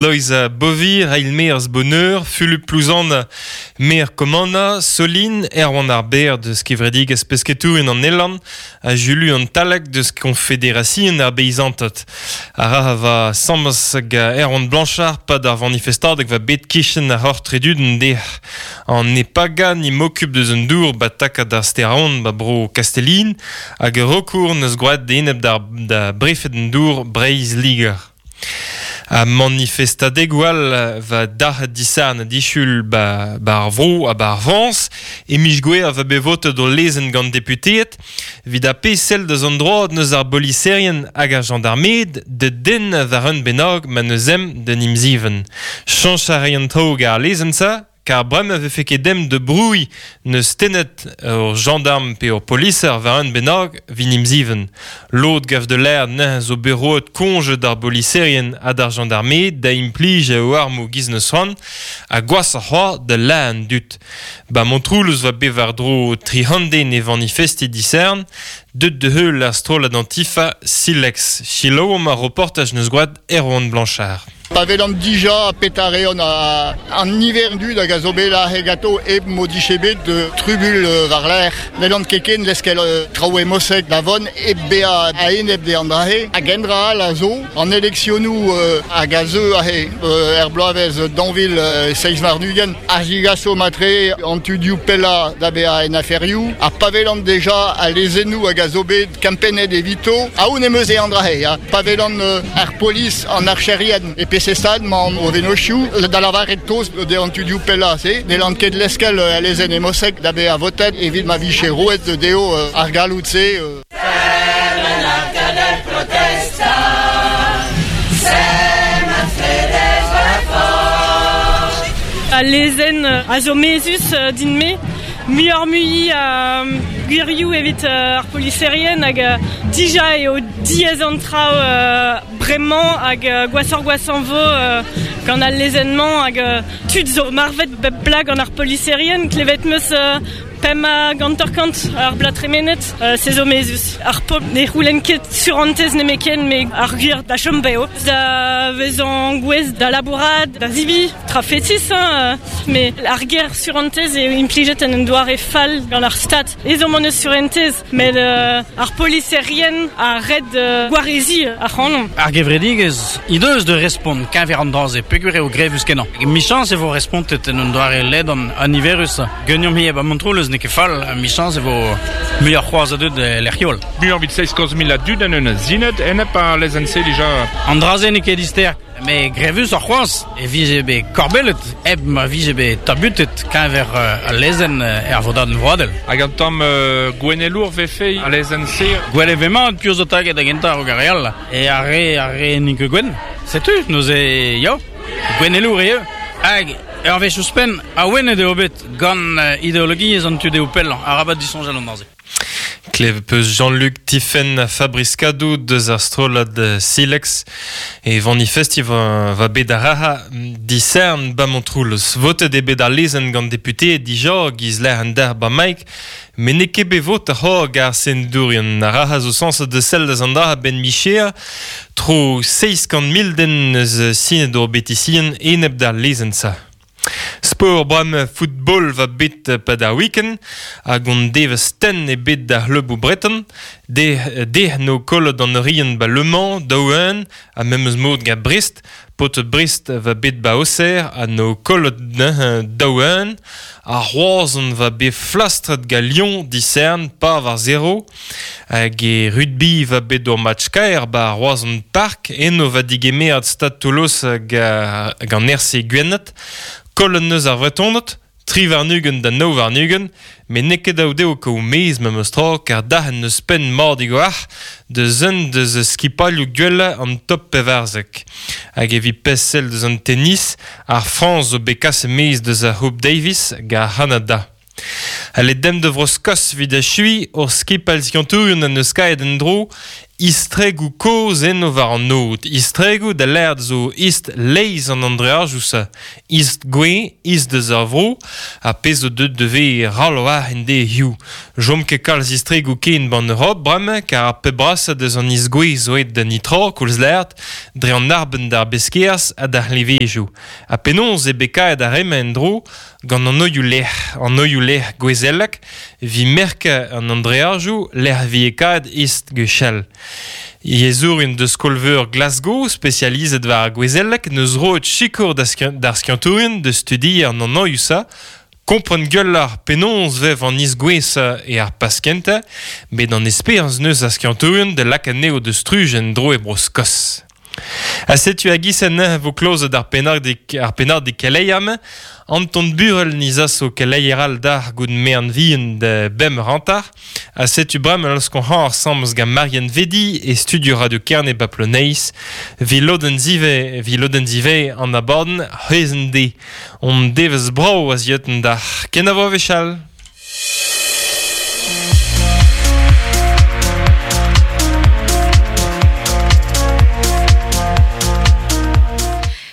Loeiza Bovir, eil-maer Boneur, Fulup Plouzan, maer Kommanna, Soline, Erwan ar Berr deus kevredigezh pesketourien an Elorn ha Julu an Talag deus Konfederasion ar Beizanted. A ra va samas ga Erwan Blanchard pad ar vanifestadeg va bet kichen ar hor treduden dec'h. An Epaga ni m'okup deus un dour ba takad ar Steraon ba bro Kastellin hag ur recours neus gwraet enep d'ar da brefed an dour Breizh-Liger. Ha manifestadegoù all va dac'het disarn disul ba, ba ar vro ha ba ar Frañs. E miz Gouere va bet votet o lezenn gant deputeed evit ar pezh sell deus an droad neus ar boliserien hag ar jañdarmed da denn war un bennak ma n'eus em d'un imzivenn. Chañch a ray an traoù gant ar lezenn-se Kar bremañ e vefe ket demp da brouiñ n'eus tennet ur jañdarm pe ur poliser war un bennak 'vit imzivenn. Lod gav da lâret neuze zo bet roet koñje d'ar boliserien ha d'ar jañdarmed da implij o armoù giz n'eus c'hoant ha gwashoc'h c'hoazh da lazhañ an dud. Ba Montroulez 'oa bet war-dro 300 den é vanifestiñ disadorn, deuet da heul ar strollad Antifa Silex. Selaouomp ar reportaj 'neus gwraet Erwan Blanchard. Pa welan dija petra reont an niver dud hag a zo bet aze ganto hep m'o dije bet trubuilh war-lerc'h. N'hellan ket ken leskel traoù emosek da vont hep bezañ a-enep dezhañ an dra-se. Hag un dra all a zo, an eleksionoù hag a zeu aze er bloavezh 2027 a zigaso matre an tudioù pellañ da vezañ en aferioù. Ha pa welan deja al lezennoù hag a zo bet kempennet evito, aon em eus eo an dra-se. Pa welan ar polis, an archerien e peseurt stad 'mañ o vennozhioù da lavaret tost dezhañ tudioù pellañ-se, n'hellan ket leskel al lezenn emosek da vezañ votet evit ma vije roet dezho ar galloud-se. Al lezenn a zo mezhus din-me. Muioc'h-mui a gwirioù evit ar poliserien hag dija eo diaes an traoù bremañ hag gwashoc'h-gwashañ 'vo gant al lezenn-mañ hag tud zo marvet bep bloaz gant ar poliserien. Klevet 'm eus pemp hag hanter-kant ar bloaz tremenet. Se zo mezhus. Ar pobl ne c'houlenn ket surentez nemetken met ar gwir da chom bev, da vezañ gouest da labourat, da zebriñ. Tra fetis, hein, met ar ger surentez eo implijet en un doare fall gant ar Stad. Ezhomm hon eus surentez, met ar poliserien a red gwareziñ ac'hanomp. Ar gevredigezh he deus da respont keñver an dra-se peogwir eo grevus-kenañ. Michañs e vo respontet en un doare ledan ha niverus. Ganeomp ivez ba Montroulez n'eo ket fall, michañs e vo muioc'h c'hoazh a dud e lec'hioù all. Muioc'h evit 7 mil a dud en un zined enep ar lezenn-se dija. An dra-se n'eo ket dister. Met grevusoc'h c'hoazh e vije bet korbellet hep ma vije bet tabutet keñver al lezenn er vodadenn vroadel. Hag un tamm gouennelour 'vefe al lezenn-se? Gwell e ve mat piv zo taget da gentañ a-raok ar re all. E ar re ar re n'int ket gwenn. Setu neuze ya, gouennelour eo. Hag ur wech ouzhpenn, awenet eo bet gant ideologiezh an tu dehou pellañ. Arabat disoñjal an dra-se. Klevet 'peus Jean-Luc Tifenn ha Fabrice Kadou deus ar strollad Silex e vanifestiñ va bet ar rac'ha disern ba Montroulez. Votet eo bet al lezenn gant deputeed dija giz lec'h an derc'h ba Mike, met n'eo ket bet votet c'hoazh gant ar senadourien. Ar rac'ha zo sañset da sell deus an dra a-benn micher tro 700 000 den eus sinet ur betisienn enep d'ar lezenn-se. Sport bremañ football va bet 'pad ar week-end hag hon devezh tenn ebet d'ar c'hleuboù breton. Dec'h 'no kollet an Oriant 'ba Le Mans, daou-un, ha memes mod gant Brest. Paotr Brest va bet 'ba Auxerre ha 'no kollet neuze daou-un. Ar Roazhon va bet flastret gant Lyon disern pa war zero. Hag e rugby va bet ur match kaer 'ba Roazhon Park. Eno va digemeret Stad Toulouse gant RC Gwened. Kollet 'neus ar Vretoned, 23 da 29, met n'eo ket dav dezho kaout mezh memes tra kar dac'henn n'eus penn mat a-walc'h deus un deus skipailhoù gwellañ an top 14. Hag evit pezh sell deus an tennis, ar Frañs zo bet kaset maez deus ar C'houp Davis gant ar C'hanada. Ha le dem da Vro-Skos evit achuiñ, hor skipailh skiantourien en deus kaet en-dro. Istregoù kozh eno war an aod. Istregoù da lâret zo ist leizh an andreajoù-se. Ist gouez, ist deus ar vro, ha pezh zo deuet da vezañ ral war en dezhioù. Chom ket kalz istregoù ken 'ban Europ bremañ, kar ar pep brasañ deus an ist gouez zo aet da nitra, koulz lâret, dre an arbenn d'ar beskerzh ha d'ar c'hleñvejoù. Ha penaos eo bet kaeet ar re-mañ en-dro gant an oioù-lec'h, an oioù-lec'h gouezelek, evit merkañ an andreajoù lec'h vije kaeet ist gwechall. Yezhourien deus skol-veur Glasgow, spesializet war ar gouezeleg, neus roet sikour d'ar skiantourien da studiañ an anoioù-se, kompren gwelloc'h penaos vev an isgouez e ar paskentañ, met an esperañs neus ar skiantourien da lakaat anezho da struj en-dro e Bro-Skos. Ha setu a-giz-se neuze vo klozet ar pennadig ar pennadig keleier-mañ. Anton Burel ni zaso keleier all d'ar gout mean vihan da bemp hanter. Ha setu bremañ laoskomp ensemble gant Marianne Vedi e studio Radio Kerne ba Ploneiz. Vi lodenn zive, vi lodenn zive an abadenn c'hwezenn de. On devezh brav a zioten d'ar kenavo wechall.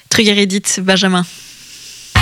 Trugarez dit, Benjamin.